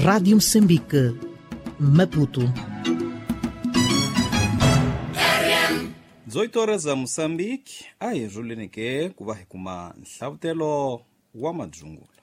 Rádio Moçambique, Maputo. 18 horas za Moçambique, a hi rhuleni ke ku va hi kuma nhlavutelo wa madzungula.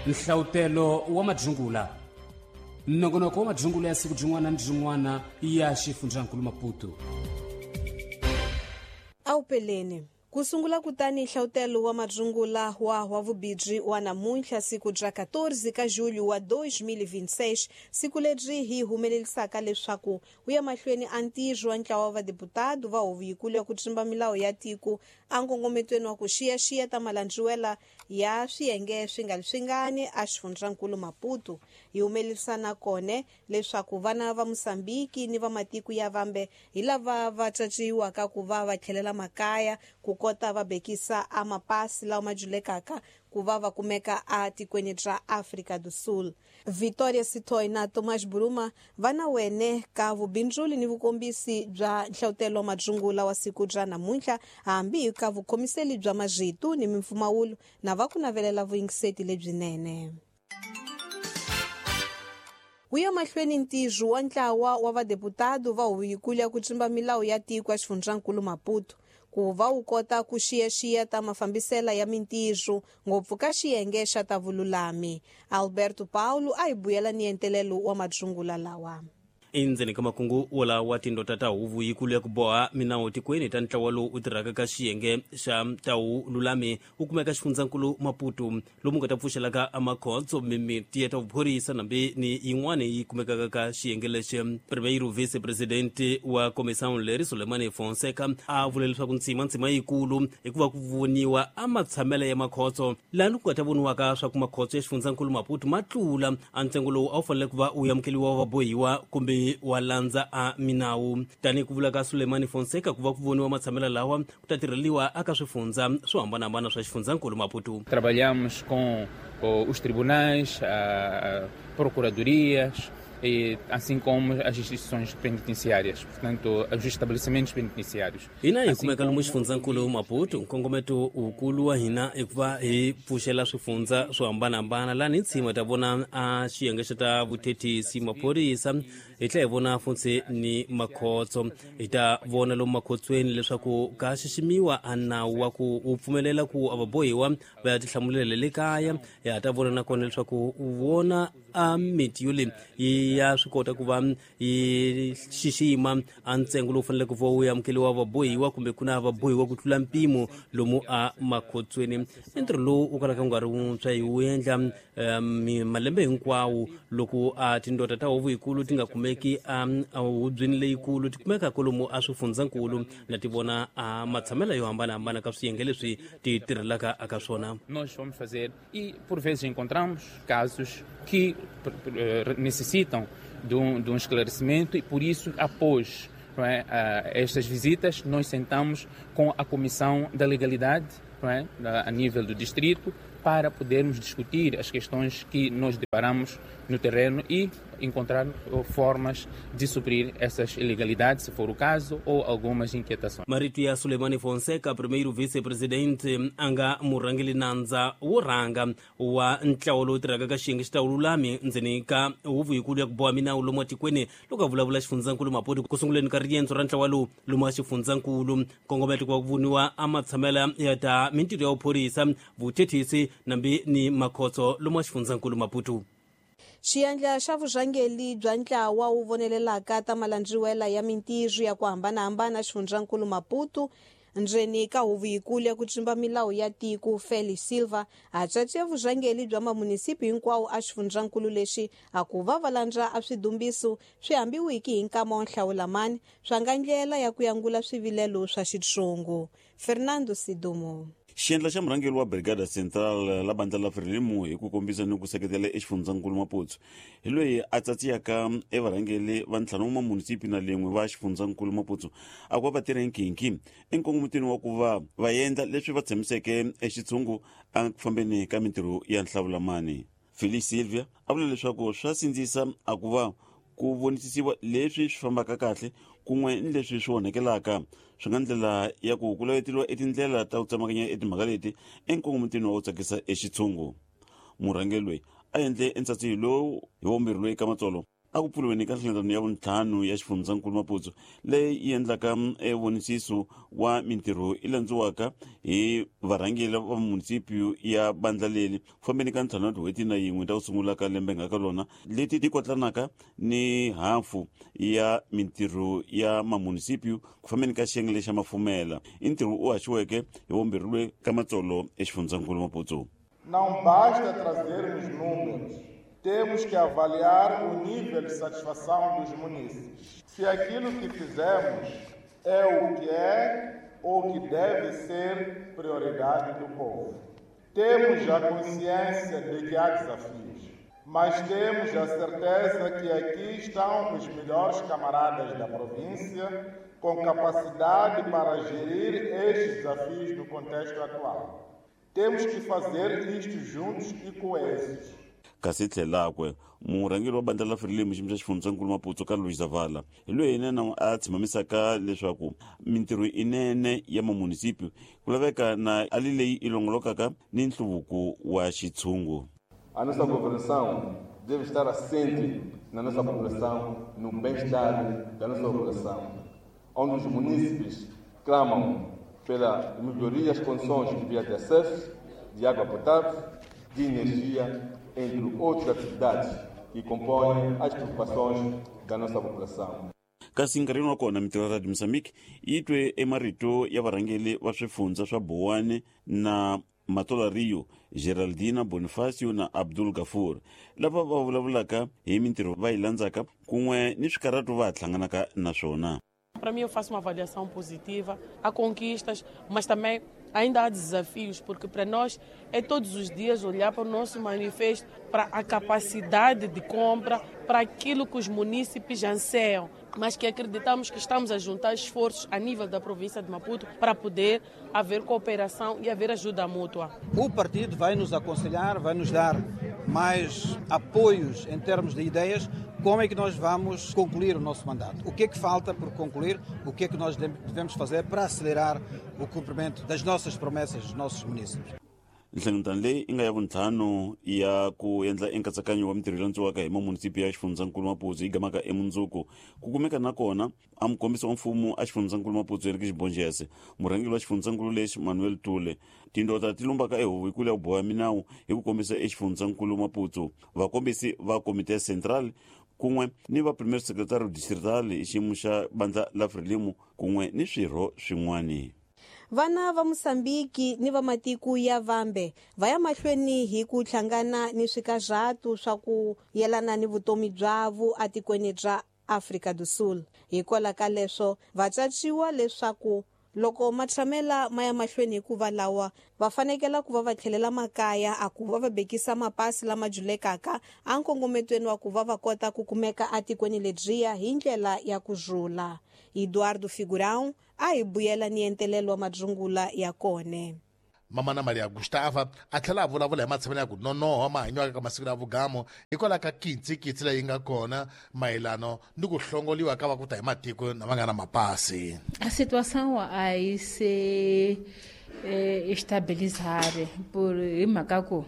Nhlavutelo wa madzungula. Nongonoko wa madzungula ya siku byin'wana ni byin'wana ya xifundzankulu Maputo. Awupeleni. Ku sungula kutani nhlavutelo wa madzungula wa vubibyi wa namuntlha siku bya 14 ka julho wa 2026, siku lebyi hi humelelisaka leswaku wu ya mahlweni a ntirho wa ntlawa wa vadeputado va huvo yikulu ya ku tsimba milawu ya tiko a nkongometweni wa ku xiyaxiya ta malandziwela ya swiyenge swi nga swingani a xifundzankulu Maputo. Hi humelelisana kone leswaku vana va Mosambiki ni va matiko ya vambe hi lava va caciwaka ku va va tlhelela makaya ku kota va bekisa a mapasi lawa ma julekaka ku va va kumeka a tikweni ra Afrika do Sul. Victoria Sitoy na Thomas Buruma va na wene ka vubindzuli ni vukombisi bya nhlavutelo wa madzungula wa siku bya namuntlha, hambi ka vukhomiseli bya majitu ni mimpfumawulo na va ku navelela vuyingiseti lebyinene. Wu ya mahlweni ntirho wa ntlawa wa vadeputado va huvo yikulu ya ku tsimba milawu ya tiko ya xifundzankulu Maputo ku va wu kota ku xiyaxiya ta mafambisela ya mintirho ngopfu ka xiyenge xa ta vululami. Alberto Paulo a hi buyela ni entelelo wa madzungula lawa. Endzeni ka makungu wolawa wa tindota ta huvo yikulu ya ku boha minawu tikweni ta ntlawa lowu u tirhaka ka xiyenge xa ta vululami wu kumeka xifundzankulu Maputo, lomu nga ta pfuxelaka makhotso mimiti ya ta vuphorisa nambi ni yin'wana yi kumekaka ka xiyenge lexi. Primeiro vice-presidente wa comissão leri Sulemani Fonseca a vula leswaku ntsima yikulu hikuva ku voniwa a matshamelo ya makhotso laha ku nga ta voniwaka swa ku makhotso ya xifundzankulu Maputo ma tlula a ntsengo lowu a wu fanele ku va wu amukeliwa va bohiwa kumbe wa landza a minawu. Tanihi ku vula ka Sulemani Fonseca, ku va ku voniwa matshamelo lawa ku ta tirheliwa aka swifundza swo hambanahambana swa xifundzankulu Maputo. Trabalhamos com os tribunais, procuradorias, e assim como as instituições penitenciárias, portanto, os estabelecimentos penitenciários. Hina hi kumeka lomu xifundzankulu Maputo, nkongometo wukulu wa hina i ku va hi pfuxela swifundza swo hambanahambana laha hi tshima ta vona a xiyenge xa ta vuthethisi maphorisa, hi tlhela hi vona funtsi ni makhotso. Hi ta vona lomu makhotsweni leswaku ka xiximiwa a nawu wa ku wu pfumelela ku a vabohiwa va ya tihlamulela le kaya. Hi ha ta vona nakona leswaku u vona a miti yo leyi ya swi kota ku va yi xixima a ntsengo lowu faneleke ku va wu amukeliwa vabohiwa kumbe ku na vabohiwa ku tlula mpimo lomu a makhotsweni. I ntirho lowu wu kalaka wu nga ri wuntshwa, hi wu endla malembe hinkwawo loko a tindota ta huvo yikulu ti nga kumeki a hubyeni leyikulu, ti kumeka kwalomu a swifundzankulu na ti vona a matshamelo yo hambanahambana ka swiyenge leswi ti tirhelaka aka swona. Nós vamos fazer e por vezes encontramos casos que necessitam de um esclarecimento e por isso após, não é, estas visitas nós sentamos com a Comissão da Legalidade, não é, a nível do distrito, para podermos discutir as questões que nós deparamos no terreno e encontrar formas de suprir essas ilegalidades, se for o caso, ou algumas inquietações. Marito ya Sulemani Fonseca, primeiro vice-presidente a nga murhangeli nandza wo rhanga wa ntlawa lowu tirhaka ka xiyenge xa ta vululami ndzeni ka huvo yikulu ya ku boha minawu lomu atikweni, loko a vulavula xifundzankulu Maputo ku sunguleni ka riendzo ra ntlawa lowu lomu a xifundzankulu. Nkongometo ku va ku voniwa a matshamela ya ta mintirho ya vuphorisa, vuthethisi nambi ni makhotso lomu a xifundzankulu Maputo. Xiyandla xa vurhangeli bya ntlawa wu vonelelaka ta malandziwela ya mintirho ya ku hambanahambana xifundzankulu Maputo ndzeni ka huvo yikulu ya ku tsimba milawu ya tiko Feli Silva a caciya vurhangeli bya mamunisipi hinkwawo a xifundzankulu lexi a ku va va landza a swidumbiso swi hambiwiki hi nkama wa nhlawulamani swa nga ndlela ya ku yangula swivilelo swa xitsongo. Fernando Sidumo. Xiendla xa murhangeri wa Brigada Central la bandla la Frelimo hi ku kombisa ni ku seketela exifundzankulu Maputo hi loyi a tsatsiyaka evarhangeri va ntlhanu wa mamunisipi na lin'we va xifundzankulu Maputo a ku va va tirha nkhinkhi enkongometweni wa ku va va endla leswi va tshembiseke exitshungu a ku fambeni ka mintirho ya nhlawulamani. Felix Silvia a vula leswaku swa sindzisa a ku va ku vonisisiwa leswi swi fambaka kahle kun'we ni leswi swi onhekelaka. Swi nga ndlela ya ku ku laveteliwa etindlela ta ku tsemakanya etimhaka leti enkongometweni wa ku tsakisa exitshungu. Murhangeri loyi a endle entsatsihi lowu hi vumbirhi loyi ka matsolo a ku pfuriweni ka nhlengeletano ya vuntlhanu ya xifundzankulu Maputo, leyi yi endlaka evonisiso wa mintirho yi landziwaka hi varhangeri va munisipiyu ya bandla leri ku fambeni ka ntlhanu wa tin'hweti na yin'we ta ku sungula ka lembe nga ka lona, leti ti kotlanaka ni hafu ya mintirho ya mamunisipiyu ku fambeni ka xiyenge lexa mafumela. I ntirho u haxiweke hi vumbirhi loyi ka matsolo exifundzankulu Maputo. Não basta trazermos números, temos que avaliar o nível de satisfação dos munícipes. Se aquilo que fizemos é o que é ou que deve ser prioridade do povo. Temos a consciência de que há desafios, mas temos a certeza que aqui estão os melhores camaradas da província com capacidade para gerir estes desafios no contexto atual. Temos que fazer isto juntos e coesos. Kasi tlhelakwe murhangeri wa bandla la Frelimo xiyimo xa xifundzankulu Maputo Carlos Zavala hi loyi yena a tshimamisaka leswaku mintirho inene ya mamunisipi ku laveka na ali leyi i longolokaka ni nhluvuko wa xitshungu. A nossa governação deve estar assente na nossa população, no bem-estar da nossa população, onde os munícipes clamam pela melhoria das condições de via de acesso, de água potável, de energia, entre outras atividades que compõem as preocupações da nossa população. Kasi nkarhini wa kona mintirho ya Radio Mozambique yi twe emarito ya varhangeri va swifundza swa Boane na Matola Rio, Geraldina Bonifacio na Abdul Gafur, lava va vulavulaka hi mintirho va yi landzaka kun'we ni swikarhato va hlanganaka na swona. Para mim, eu faço uma avaliação positiva. Há conquistas, mas também ainda há desafios, porque para nós é todos os dias olhar para o nosso manifesto, para a capacidade de compra, para aquilo que os munícipes anseiam, mas que acreditamos que estamos a juntar esforços a nível da província de Maputo para poder haver cooperação e haver ajuda mútua. O partido vai nos aconselhar, vai nos dar mais apoios em termos de ideias, como é que nós vamos concluir o nosso mandato, o que é que falta por concluir, o que é que nós devemos fazer para acelerar o cumprimento das nossas promessas dos nossos municípios. Nhlengeletano leyi yi nga ya vuntlhanu ya ku endla enkatsakanyo wa mintirho yi landziwaka hi mamunisipi ya xifundzankulu Maputo yi gamaka emundzuku ku kumeka na kona a mukombisi wa mfumo a xifundzankulu Maputo Henrique Xibonjese, murhangeri wa xifundzankulu lexi Manuel Tule, tindota ti lumbaka ehuvo yikulu ya ku boha minawu hi ku kombisa exifundzankulu Maputo, vakombisi va komite central kun'we ni va premier secretary distrital hi xiyimo xa bandla la Frelimo kun'we ni swirho swin'wani. Vana va Mosambiki ni va matiko ya vambe va ya mahlweni hi ku hlangana ni swikarhatu swa ku yelana ni vutomi byavo atikweni bya Afrika do Sul. Hikwalaho ka leswo va caciwa leswaku loko matshamela ma ya mahlweni hikuva lawa va fanekela ku va va tlhelela makaya a ku va va bekisa mapasi lama julekaka a nkongometweni wa ku va va kota ku kumeka atikweni ledyiya hi ndlela ya ku rhula. Eduardo Figurão a hi buyela ni entelelo wa madzungula ya kone. Mamana Maria Gustava a tlhela a vulavula hi matshamelo ya ku nonoha mahanyiwaka ka masiku ya vugamo hikwalaho ka kitsikitsi leyi nga kona mayelano ni ku hlongoliwa ka va ku ta hi matiko na va nga na mapasi. A situação a yi se estabilizare por hi mhaka ku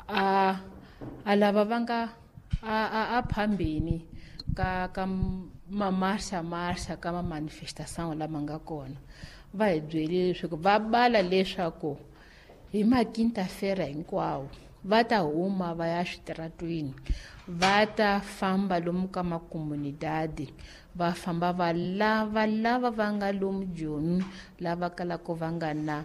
a lava va nga a phambeni ka mamarxa marxa ka ma-manifestação lama nga kona va hi byele leswaku va bala leswaku hi maquinta-feira hinkwawo va ta huma va ya switaratwini, va ta famba lomu ka makomunidadi, va famba va lava lava va nga lomu Joni, lava kalaka va nga na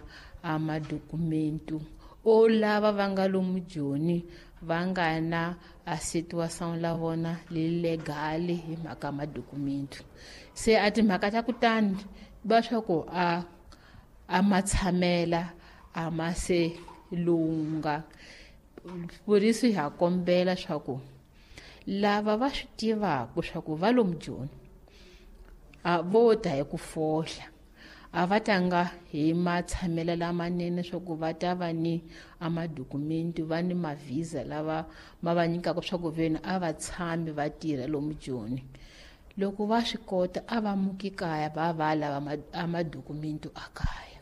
madokumentu o lava va nga lomu Joni va nga na a situação la vona legal hi mhaka madokumentu. Se a timhaka ta kutani va swa ku a matshamela a ma se lunga. Por isso ha kombela swa ku lava va swi tivaka swa ku va lomu Joni a vo ta hi ku fohla, a va tanga hi matshamelo lamanene swa ku va ta va ni a madokumenti, va ni mavhisa lava ma va nyikaka swa ku veni a va tshami va tirha lomu Joni. Loko va swi kota a va muki kaya va va lava a madokumento a kaya.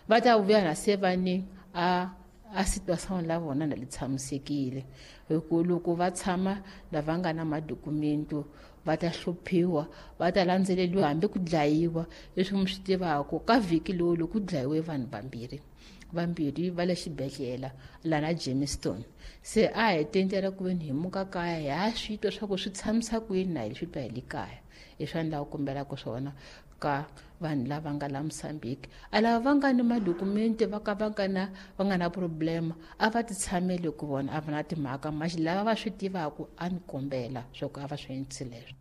Va ta vuya na se va ni a situação la vona na li tshamisekile. Hi ku loko va tshama lava nga na madokumento va ta hluphiwa, va ta landzeleriwa hambi ku dlayiwa. Leswi mi swi tivaka ka vhiki lowu loko ku dlayiwe vanhu vambirhi va le xibedhlele lana Jamestown. Se a hi tendela ku veni hi muka kaya hi ha swi twa swa ku swi tshamisa ku yini na hi swi twa hi le kaya. Hi swa ni lava ku kombelaka swona ka vanhu lava nga la Mozambique. A lava va nga ni madokumenti va ka va nga na problema a va ti tshameli ku vona a va na timhaka, maxi lava va swi tivaka a ni kombela swa ku a va swi endlisi leswo.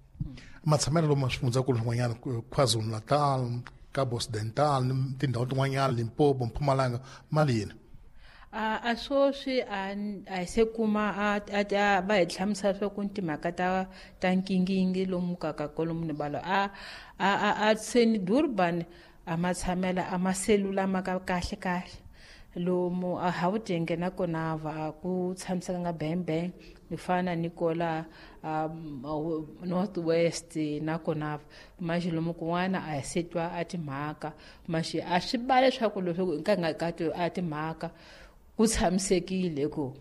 Matshamelo lomu swifundzakulu swin'wanyana KwaZulu-Natal, Cabo Occidental, tindhawu tin'wanyana Limpopo, Mpumalanga, mali yini? A swoswi a hi se kuma a va hi hlamusela swa ku timhaka ta nkingingi lomu ka kolomu ni balo a seni Durban a matshamela a maselula ma ka kahle kahle lomu a Gauteng na kona va ku tshamiseka nga bang ni fana ni kola North West na kona maxi lomu kun'wana a hi se twa a timhaka maxi a swi ba leswaku leswaku ka nga ka a timhaka ku tshamisekile ku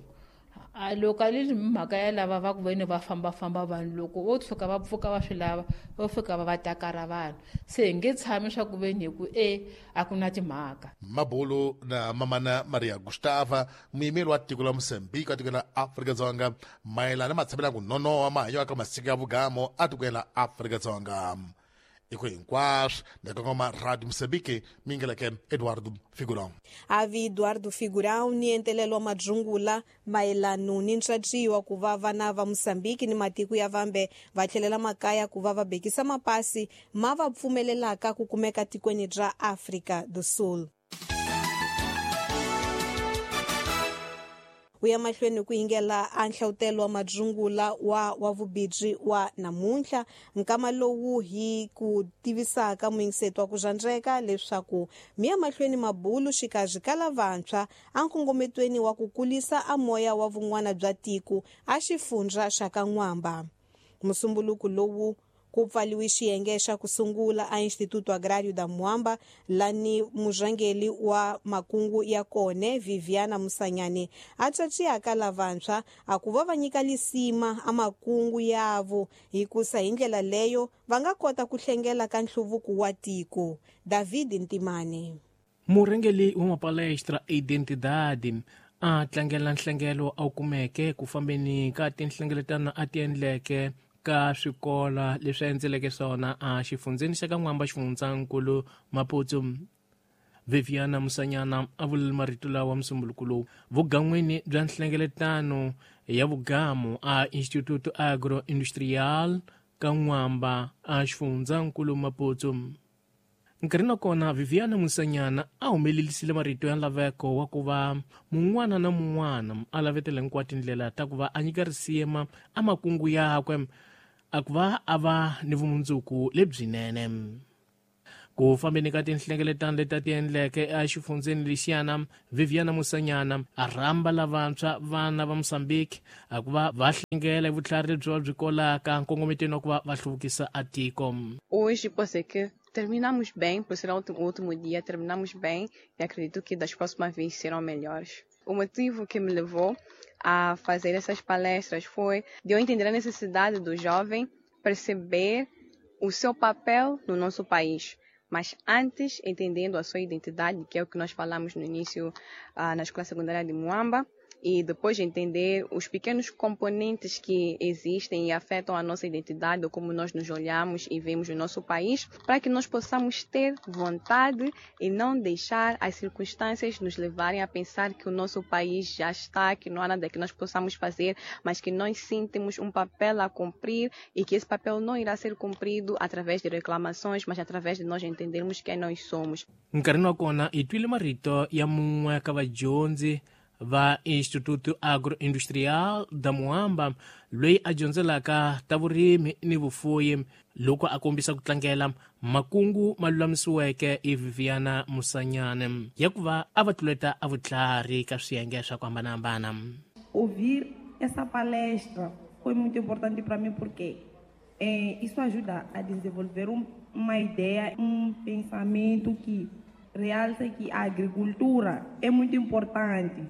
a loko a li mhaka ya lava va ku veni va fambafamba vanhu loko vo tshuka va pfuka va swi lava vo fika va va takara vanhu se hi nge tshami swa ku veni hi ku a ku na timhaka. Mabulu na mamana Maria Gustava, muyimeri wa tiko la Mozambique wa tiko la Afrika-Dzonga mayelana na matshamelo ya ku nonoha mahanyelo ka masiku ya vugamo a tikweni la Afrika-Dzonga. Iko hinkwaswo ndakongoma Radio Mozambique mingeleke Eduardo Figurão. Avi Eduardo Figurão ni entelelo wa madzungula mayelano ni ntswatswiwa ku va vana va Mozambique ni matiko ya vambe va tlhelela makaya ku va va bekisa mapasi ma va pfumelelaka ku kumeka tikweni ra Afrika do Sul. U ya mahlweni ku yingela a nhlawutelo wa madzungula wa vubibyi wa namuntlha nkama lowu hi ku tivisaka muyingiseto wa ku zandreka leswaku mi ya mahlweni mabulu xikarhi ka lavantshwa a nkongometweni wa ku kulisa a moya wa vun'wana bya tiko a xifundza xa ka N'wamba. Musumbuluko lowu ku pfaliwe xiyenge xa ku sungula a Instituto Agrário da Mwamba lani murhangeri wa makungu ya kone Viviana Musanyane a tsatsiyaka lavantshwa a ku va va nyika lisima a makungu yavo hikusa hi ndlela leyo va nga kota ku hlengela ka nhluvuko wa tiko. David Ntimane. Murhangeri wa mapalestra Identidade a tlangela nhlengelo a wu kumeke ku fambeni ka tinhlengeletano a ti endleke ka swikola leswi endzeleke swona a xifundzeni xa ka N'wamba xifundzankulu Maputo. Viviana Musanyana a vulile marito lawa musumbuluko lowu vugan'wini bya nhlengeletano ya vugamu a Instituto Agro Industrial ka N'wamba a xifundzankulu Maputo. Nkarhi na kona Viviana Musanyana a humelelisile marito ya laveko wa ku va mun'wana na mun'wana a lavetela hinkwato tindlela ta ku va a nyika risima a makungu yakwe a ku va a va ni vumundzuku lebyinene. Ku fambeni ka tinhlengeletano leti a ti endleke exifundzeni lexiyana, Viviana Musanyana a rhamba lavantshwa vana va Mozambique a ku va va hlengela hi vutlhari lebyi va byi kolaka nkongometweni wa ku va va hluvukisa a tiko. Hoje posso dizer que terminamos bem, por ser o último dia, terminamos bem e acredito que das próximas vezes serão melhores. O motivo que me levou a fazer essas palestras foi de eu entender a necessidade do jovem perceber o seu papel no nosso país, mas antes entendendo a sua identidade, que é o que nós falamos no início na Escola Secundária de Moamba, e depois entender os pequenos componentes que existem e afetam a nossa identidade, ou como nós nos olhamos e vemos o nosso país, para que nós possamos ter vontade e não deixar as circunstâncias nos levarem a pensar que o nosso país já está, que não há nada que nós possamos fazer, mas que nós sim temos um papel a cumprir e que esse papel não irá ser cumprido através de reclamações, mas através de nós entendermos quem nós somos. Nkarhi wa kona hi twile marito ya mun'we ka vadyondzi va Instituto Agroindustrial da Moamba loyi a dyondzelaka ta vurimi ni vufuyi loko a kombisa ku tlangela makungu ma lulamisiweke hi Viviana Musanyane ya ku va a va tluleta a vutlhari ka swiyenge swa ku hambanahambana. Ouvir essa palestra foi muito importante para mim porque Isso ajuda a desenvolver uma ideia, um pensamento que realça que a agricultura é muito importante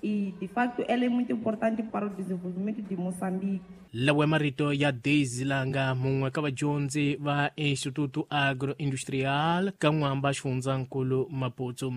e, de facto, ela é muito importante para o desenvolvimento de Moçambique. Lawa marito ya Daisy Langa mun'we ka vadyondzi va Instituto Agroindustrial ka N'wamba xifundzankulu Maputo.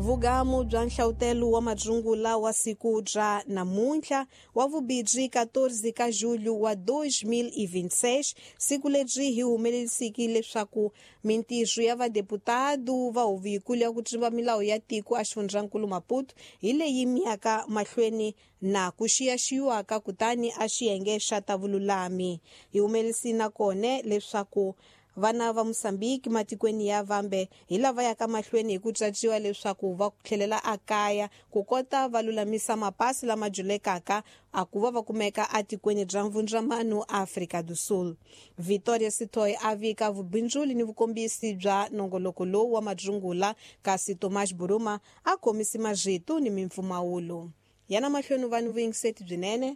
Vugamu bya nhlawutelo wa madzungula wa siku bya namuntlha wa vubirhi 14 ka julho wa 2026, siku lebyi hi humelerisiki leswaku mintirho ya vadeputado va huvo ya ku tsumba milawu ya tiko a xifundzankulu Maputo hi leyi miyaka mahlweni na ku xiyaxiwaka kutani a xiyenge xa ta vululami. Hi humelerisi nakona leswaku vana va Mozambique matikweni ya vambe hi lava yaka mahlweni hi ku caciwa leswaku va tlhelela akaya ku kota va lulamisa mapasi lama julekaka a ku va va kumeka atikweni bya Mvundzamano Afrika do Sul. Victoria Sitoy a vika vubindzuli ni vukombisi bya nongoloko lowu wa madzungula, kasi Tomás Buruma a khomisi marito ni mimpfumawulo. Yana mahlweni vanhu vuyingiseti byinene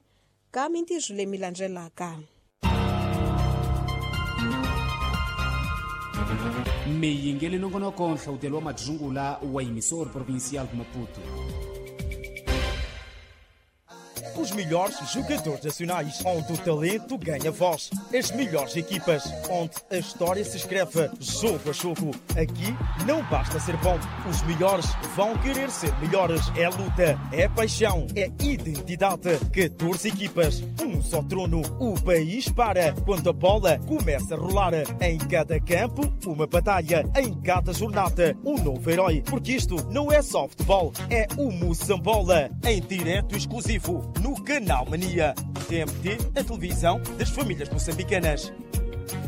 ka mintirho leyi mi landzelaka. Miyingeli nongonoko nhlawutelo wa madzungula wa emissor provincial de Maputo. Os melhores jogadores nacionais, onde o talento ganha voz. As melhores equipas, onde a história se escreve jogo a jogo. Aqui não basta ser bom, os melhores vão querer ser melhores. É luta, é paixão, é identidade. 14 equipas, um só trono. O país para quando a bola começa a rolar. Em cada campo, uma batalha. Em cada jornada, um novo herói. Porque isto não é só futebol, é o Moçambola. Em direto exclusivo no Canal Mania. TMT, a televisão das famílias moçambicanas.